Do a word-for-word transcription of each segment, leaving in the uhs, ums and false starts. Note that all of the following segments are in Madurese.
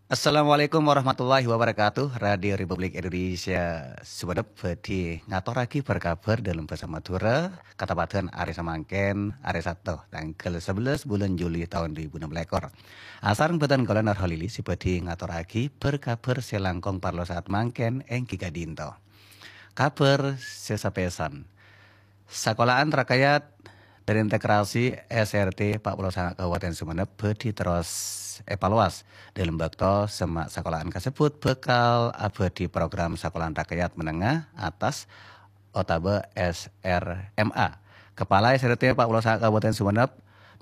Assalamualaikum warahmatullahi wabarakatuh. Radio Republik Indonesia Sumenep bhâdhi ngatorraghi bâr-kabhâr dâlem bhâsa Madhurâ, katapa'an arè samangkèn, arè Sabtu, tangghâl sabellâs bulân Juli taon dhu èbu ennem lèkor. Asareng bhâdhân kaulâ Nur Holili sè bhâdhi ngatorraghi bâr-kabhâr sè langkong parlo saat mangkèn èngghi ka'dinto. Kabhâr sè sapèsan. Sakola'an rakayat dâri integrasi S R T empat puluh sanga Kabupaten Sumenep bhâdhi terros èpalowas. Dâlem bâkto semma' sakola'an kasebbhut bhâkal abhâdhi program sakola'an rakayat menengah atas otabâ S R M A. Kepala S R T empat puluh sanga Kabupaten Sumenep,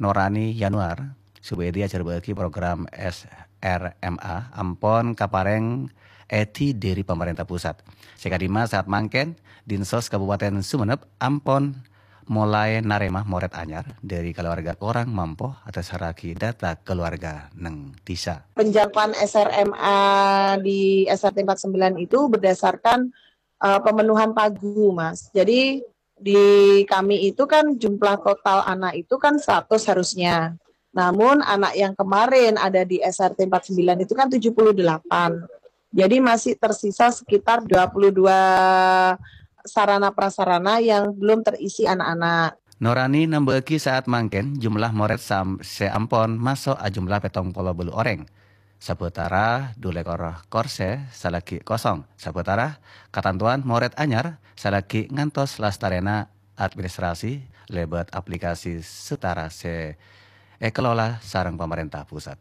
Norani Yanuar, Subedi ajhârbâ'âghi program S R M A ampon kaparèng èdhi dâri pamarènta pusat. Sè ka'dimma saat mangkèn, Dinsos Kabupaten Sumenep ampon molaè narèma morèd anyar dâri kalowarga korang mampo adhâsarraghi data kalowarga neng dhisa. Penjangkauan S R M A di S R T empat sembilan itu berdasarkan eh, pemenuhan pagu, Mas. Jadi di kami itu kan jumlah total anak itu kan seratus harusnya. Namun anak yang kemarin ada di S R T empat sembilan itu kan tujuh puluh delapan. Jadi masih tersisa sekitar dua puluh dua sarana prasarana yang belum terisi anak-anak. Norani nambâ'âghi saat mangkèn jumlah morèd sam-, sè ampon maso' ajumlah pètong polo bâllu orèng. Sabâtara dhu lèkor korsè salaghi kosong. Sabâtara katantowan morèd anyar salaghi ngantos lastarèna administrasi lèbât aplikasi Setara sè èkalola sareng pamarènta pusat.